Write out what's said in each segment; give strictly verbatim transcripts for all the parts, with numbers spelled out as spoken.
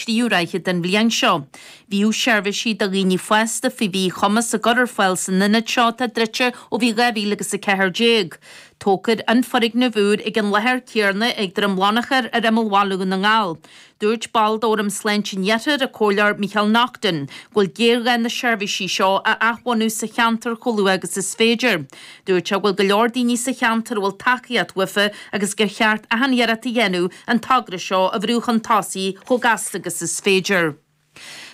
tríú ráithe den bhliain seo. Bhíodh seirbhísí do dhaoine fásta faoi mhíchumas á gcur ar fáil san ionad seo atá druidte ó bhí dhá mhíle agus a ceathair déag. Tógfar an foirgneamh úr ag an láthair céanna ag Droim Lonchair ar imeall bhaile Dhún na nGall. Dúirt ball d'Fhóram Sláinte an Iarthair, an Comhairleoir Micheál Naughton, go bhfuil géarghá na seirbhísí seo a athbhunú sa cheantar chomh luath agus is féidir. Dúirt sé go bhfuil go leor daoine sa cheantar a bhfuil tacaíocht uafa agus gur cheart achan iarracht a dhéanamh an togra seo a bhrú chun tosaigh chomh gasta agus is féidir.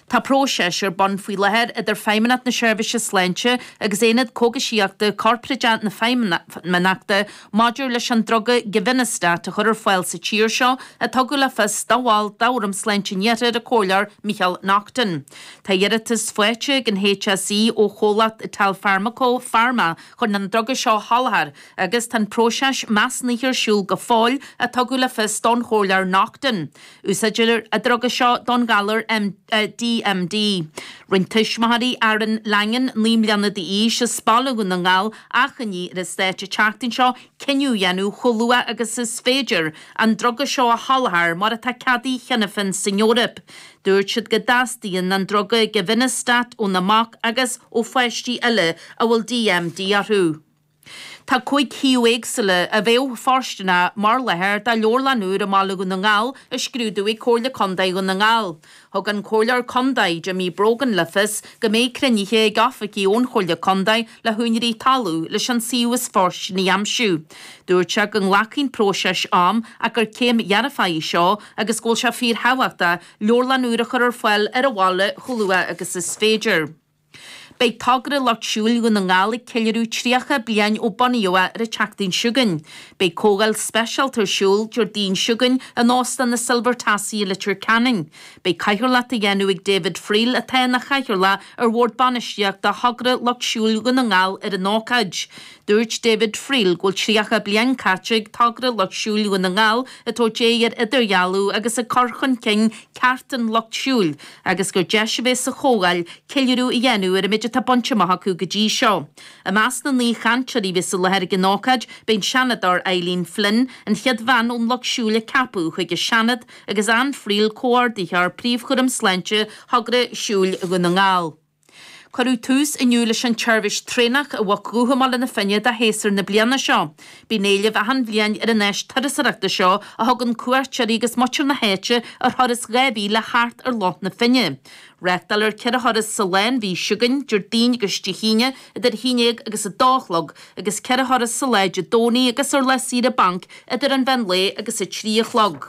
Tá próiseas ar bun faoi láthair idir Feidhmeannacht na Seirbhíse Sláinte agus Aonad Cógaisíochta Corparáide na Feidhmeannachta maidir leis an druga Givinostat a chur ar fáil sa tír seo, a tugadh le fios do bhall d'Fhóram Sláinte an Iarthair, an Comhairleoir Micheál Naughton. Tá iarratas faighte ag an HSE ó chomhlacht Italfarmaco Pharma chun an druga seo a sholáthar agus tá an próiseas measúnaithe ar siúl go fóill, a tugadh le fios don Chomhairleoir Naughton. Úsáidtear an druga seo don ghalar D M D. Rinne tuismitheoirí Aaron Langan, naoi mbliana d'aois, as Baile Dhún na nGall, achainí ar an Stát an tseachtain seo cinneadh a dhéanamh chomh luath agus is féidir an druga seo a sholáthar mar atá ceadaithe cheana féin san Eoraip. Dúirt siad go dteastaíonn an druga Givinostat óna mac agus ó pháistí eile a bhfuil D M D orthu. Tá cúig shuíomh éagsúla a bheadh fóirsteanach mar láthair do leabharlann úr i mBaile Dhún na nGall á scrúdú ag Comhairle Contae Dhún na nGall. Thug an Comhairleoir Contae, Jimmy Brogan, le fios go mbeidh cruinnithe ag oifigigh ón Chomhairle Contae le húinéirí talún leis an suíomh is fóirsteanaí a aimsiú. Dúirt sé go nglacfaidh an próiseas am ach gur céim dhearfach í seo agus go bhfuil sé fíorthábhachtach leabharlann úr a chur ar fáil ar an bhaile chomh luath agus is féidir. Beidh togra Lucht Siúil Dhún na nGall ag ceiliúradh tríocha bliain ó bunaíodh é ar an tseachtain seo chugainn. Beidh comhdháil speisialta ar siúl Déardaoin seo chugainn in Óstán na Silver Tassie i Leitir Ceanainn. Beidh cathaoirleacht á dhéanamh ag David Friel atá ina chathaoirleach ar Bhord Bainistíochta Thogra Lucht Siúil Dhún na nGall ar an ócáid. Dúirt David Friel go bhfuil tríocha bliain caite ag togra Lucht Siúil Dhún na nGall ag tabhairt aghaidh ar idirdhealú agus ag cur chun cinn cearta an lucht siúil agus gur deis a bheidh sa chomhdháil ceiliúradh a dhéanamh ar an méid atá bainte amach acu go dtí seo. I measc na n-aoichainteoirí a bhí sa láthair ag an ócáid, beidh an Seanadóir Eileen Flynn, an chéad bhean ón lucht siúil a ceapadh chuig an Seanad, agus Anne Friel, comhordaitheoir príomhchúram sláinte Thogra Siúil Dhún na nGall. Cuireadh tús inniu leis an tseirbhís traenach i bhFoc Dhúiche mBaile na Finne do shéasúr na bliana seo. Bíonn éileamh achan bhliain ar an áis turasóireachta seo a thugann cuairteoirí agus muintir na háite ar thuras dhá mhíle thart ar Loch na Finne. Reáchtáilfear ceithre thuras sa lá an mhí seo chugainn, Déardaoin agus Dé hAoine, idir a haon déag agus a dó a chlog, agus ceithre thuras sa lá Dé Domhnaigh agus ar lá saoire bainc idir an mheán lae agus a trí a chlog.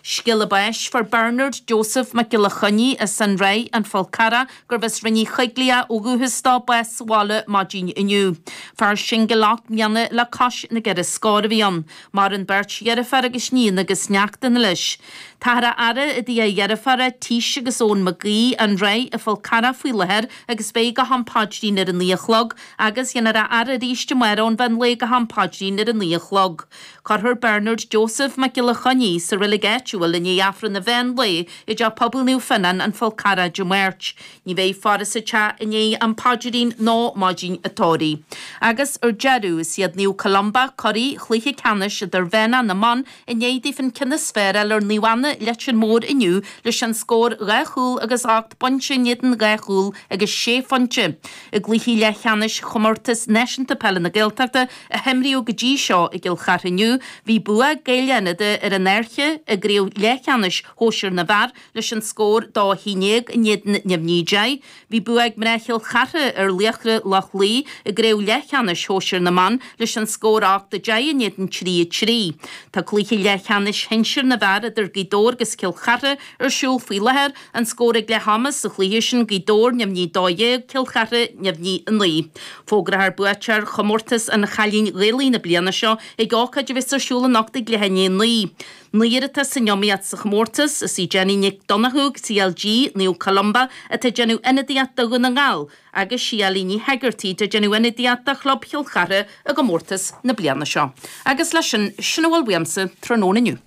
Scéala báis fuair Bernard Joseph Mac Giolla Chainnigh as an Ráith, An Fál Carrach, gurbh as Rinn Uí Choiglighe ó dhúchas dó, bás sa bhaile maidin inniu. Fear singil ocht mbliana le cois na gceithre scór a bhí ann. Maireann beirt dheirféar agus níon agus neachtanna leis. Táthar á fhaire i dtigh a dheirféara, Tís agus Eoin Mac Aoidh, An Ráith, An Fál Carrach faoi láthair agus beidh go ham paidrín ar a naoi a chlog agus dhéanfar a fhaire arís amárach ón mheán lae go ham paidrín ar a naoi a chlog. Cuirfear Bernard Joseph Mac Giolla Chainnigh sa reilig áitiúil i ndiaidh Aifreann an mheán lae i dTeach Pobail Naomh Fionnán, An Fál Carrach Dé Máirt. Ní bheidh faire sa teach i ndiaidh am paidrín ná maidin an tórraimh. Agus ar deireadh, is iad Naomh Columba curaidh chluiche ceannais idirmheánach na mban i ndiaidh daofa an ceann is fearr a fháil ar Naomh Anna Leitir Móir inniu leis an scór dhá chúl agus ocht bpointe in éadan dhá chúl agus sé phointe. I gcluichí leathcheannais Chomórtas Náisiúnta Peile na Gaeltachta a himríodh go dtí seo i gCill Chartha inniu, bhí bua ag Gaeil Fhánada ar an Fhairche i gcraobh leathcheannais shóisir na bhfear leis an scór dó a haon déag in éadan neamhní deich. Bhí bua ag mná Chill Chartha ar Laochra Loch Lao i gcraobh leathcheannais shóisir na mban leis an scór ocht a deich in éadan trí a trí. Tá cluiche leathcheannais shinsir na bhfear idir Gaoth Dobhair agus Cill Chartha ar siúl faoi láthair, an scór ag leath ama sa chluiche sin Gaoth Dobhair neamhní dó dhéag, Cill Chartha neamhní a naoi. Fógrófar buaiteoir chomórtas an Chailín Ghaelaigh na bliana seo ag ócáid a bheas ar siúl anocht ag leath i ndiaidh a naoi. Naoi atá san iomaíocht sa chomórtas, is í Jenny Nic Donnchú, C L G, Naomh Columba, atá ag déanamh ionadaíocht do Dhún na nGall, agus sí Ellie Ní Hegarty atá ag déanamh ionadaíocht do Chlub Chill Chartha i gcomórtas na bliana seo. Agus leis sin, sin a bhfuil uaimse tráthnóna inniu.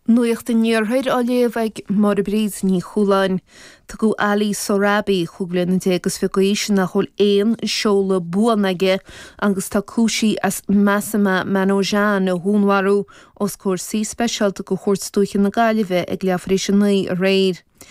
Nuacht an Iarthair á léamh ag Máire Bríd Ní Chualáin. Tugadh Ali Sohrabi cúig bliana déag is fiche d'aois nach bhfuil aon seoladh buan aige agus tá cúisithe as Masuma Manojan a dhúnmharú os comhair suí speisialta de Chúirt Dúiche na Gaillimhe ag leathuair tar éis a naoi aréir.